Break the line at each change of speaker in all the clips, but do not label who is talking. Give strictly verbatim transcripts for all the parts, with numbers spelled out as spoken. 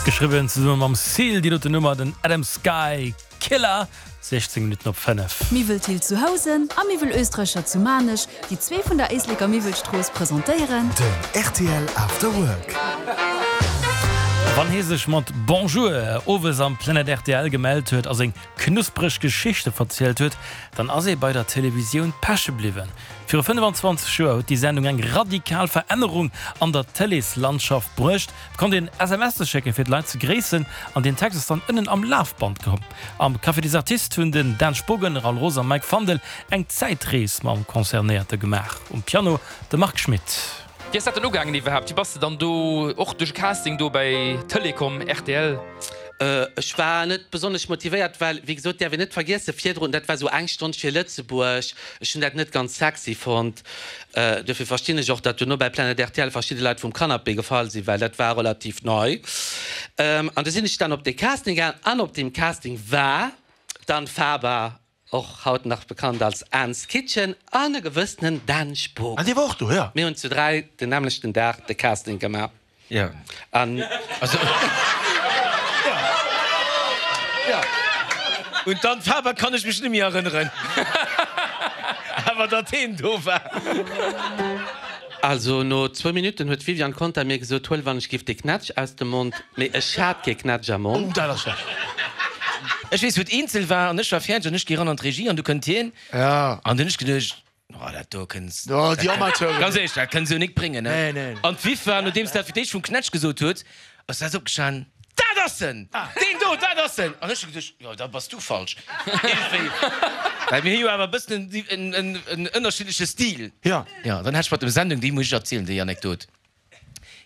Geschriwwen zesumme mam Seal, déi doten Nummer, den Adam Sky Killer, siechzéng Minutten op fënnef.
Miwwel Thill zu Housen a Miwwel Österreicher zu Maarnech, déi zwee vun der Éisleker Miwwelstrooss presentéieren.
Den rtl After Work.
Wann hie sech mat Bonjour owes am Planet rtl gemellt huet a seng knuspreg Geschichte verzielt huet, dann ass ee bei der Televisioun peche bliwwen. Viru fënnefanzwanzeg Joer huet déi Sendung eng radikal Verännerung an der Tëleeslandschaft bruecht. Et konnt een S M Sen schécken, fir d'Leit ze gréissen, an deen Text ass dann ënnen am Lafband komm. Am Café des Artistes hunn den Dan Spogen, Raoul Roos a Mike Fandel eng Zäitrees mam Concernéierte gemaach. Um Piano de Marc Schmitt.
Wéi ass dat dann ugaangen iwwerhaapt? Wéi bass de dann do och duerch e Casting do bäi Telecom, rtl?
Ech war net besonnesch motivéiert, well, wéi gesot, däerf een net vergiessen, virdrun, dat war esou eng Stonn fir Lëtzebuerg, ech hunn dat net ganz sexy fonnt. Duerfir verstinn ech och, datt duerno bei Planet rtl verschidde Leit vum Canapé gefall sinn, well dat war relativ nei. An du sinn ech dann op dee Casting gaangen an op deem Casting war d'Anne Faber, och haut nach bekannt als Anne's Kitchen, an e gewëssenen Dan Spogen.
Ah, dee war och do, jo.
Mir hunn zu dräi den nämmlechten Dag de Casting gemaach.
Jo.
An.
Also. Jo. Un d'Anne Faber kann ech mech net méi erënneren. Awer datt heen do war.
Also no zwou Minutten huet d'Viviane Conter mir gesot, Huel wann ech giff de Knätsch aus dem Mond, mee ech hat kee Knätsch am Mond.
Oh, dat ass schlecht.
Ech weess wou et eenzel war an ech war fäerdeg an ech gi ran an d'Regie an du kënnt hien an dunn ech geduecht, oh dat do kënns,
Oh, déi Amateuren.
ganz éierlech, dat kënns du nik bréngen, ne?
Nee, nee.
An d'Viv war, nodeems dat fir d'éischt vum Knätsch gesot huet, ass dat opgestanen, Dat ass en! Deen do, dat ass en! An ech hu geduecht, jo, da bass du falsch. Iergendwéi, well mir hu jo awer e bëssen en, en, en ënnerschiddleche Stil.
Ja.
Jo, dann hat ech mat dem Sendung, déi muss ech erzielen, déi Anekdot.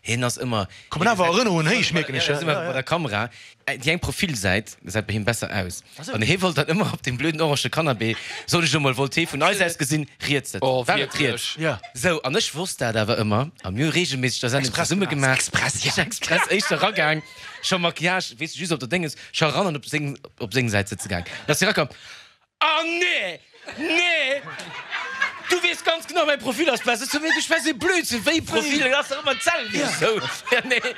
Hien ass ëmmer.
Kommen awer Erënnerungen héich, mierken ech.
Hien ass ëmmer bei der Kamera. Déi eng Profilsäit gesäit bei him besser aus. An hie wollt dann ëmmer op deem blöden orange Canapé, soen ech elo mol, wollt hie vun eis aus gesinn riets sëtzen.
Oh,
War et
wierklech?
riets?
Ja.
Sou, an ech wosst dat awer ëmmer. A mir hu reegelméisseg da Sendung zesumme gemaach.
Express,
ja. Ech express éischter ragaang, scho Maquillage, weess de, just op der Dénges, scho eran an op seng, op seng Säit sëtze gaang. Da ass hie rakomm, Ah nee! Nee! Du weess ganz genau, mäi Profil ass besser. Ech sou, mee du schwätz ee Blödsinn, wéi Profil? Dat ass dach ëmmer d'selwecht. Sou, ja nee.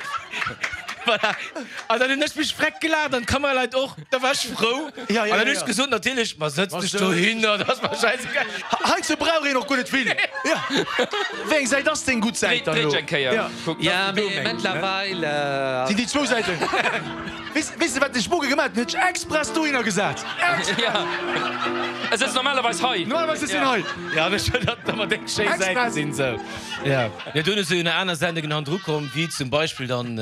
Voilà. An dann hunn ech mech freck gelaacht an d'Kameraleit och. Da war ech frou.
Ja, ja,
An dann hunn
ja.
ech gesot, natierlech, ma sëtz dech dohinner, dat ass mer schäisegal.
Heiansdo brauch een och guer net vill. Ja. Wéi eng Säit ass deng gutt Säit dann
Dréi
elo?
dech eng Kéier.
Ja.
Kuck,
Ja,
dat ass
mee mëttlerweil.
Sinn déi zwou Säiten. Weess, weess de wat de Spoge gemaat huet? En huet sech express dohinner gesat. Express!
Ja. E sëtzt normalerweis hei.
Normalerweis sëtzt en hei.
Ja, ech hunn dat ëmmer déck schéi Säite
Express!
sinn sou. Ja. Ja, dunn ass jo nach aner Sendungen hannendru komm, wéi zum Beispill dann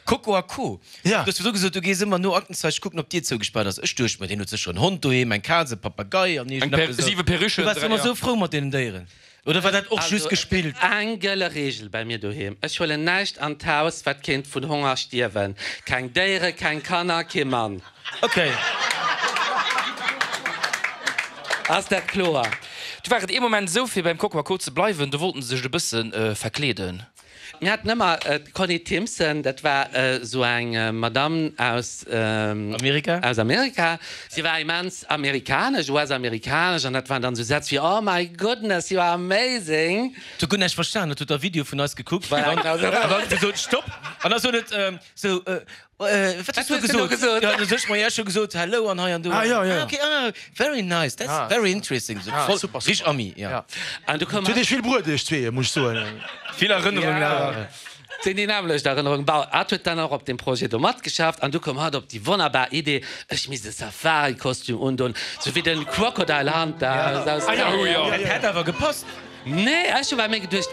Coco a Co.
Ja.
Du hues virdru gesot, du gees ëmmer no Aktenzeichen kucken, ob d'Dier zougespaart ass. Ech duecht mer, deen huet sécher en Hond doheem, eng Kaz, e Papagei an
Eng
iergendeppes
Per,
esou.
siwe
Du
Perruchen,
waars
dräi,
ëmmer
ja.
sou frou mat deenen Déieren. Oder war dat och
Also
just gespillt?
eng gëlle Reegel bei mir doheem, Ech huelen näischt an d'Haus, wat kéint vun Honger stierwen. Keng Déiere, keng Kanner, kee Mann.
Ok.
Ass dat kloer?
Du war et ee Moment esou, fir beim Coco a Co ze bleiwen, do wollten se sech e bësse verkleeden.
Mir haten ëmmer d'Conny Timpson, dat war esou eng Madame aus
Amerika.
Aus Amerika. Si war immens amerikanesch, U S-amerikanesch, an dat waren dann esou Sätz wéi, Oh my goodness, you are amazing!
Et huet guer näischt verstan, et huet da Video vun eis gekuckt
Voilà,
an
genau esou.
dann huet gesot, Stopp! An da sot et sou, Wat hues du gesot? Jo, du sech, ma jo, ech hu gesot hello an hei an do.
Ah, jo, jo.
Ah, okay, ah, very nice, that's
Ah.
very interesting. Sou
Ah,
voll
super,
richteg
super.
Ami, ja.
Ja.
An du koum
Huet Iech vill bruet, Iech zwee, muss ech soen.
Vill Erënnerungen awer.
Sinn déi nämmlecht Erënnerung. Bon, hatt huet dann och op deem Projet do matgeschafft an du koum hatt op déi wonnerbar Idee, ech misst e Safari-Kostüm undon, sou wéi den Crocodile Hunter aus
Ah, jo, jo.
Dat hätt awer gepasst.
Nee, ech hu bei mir geduecht,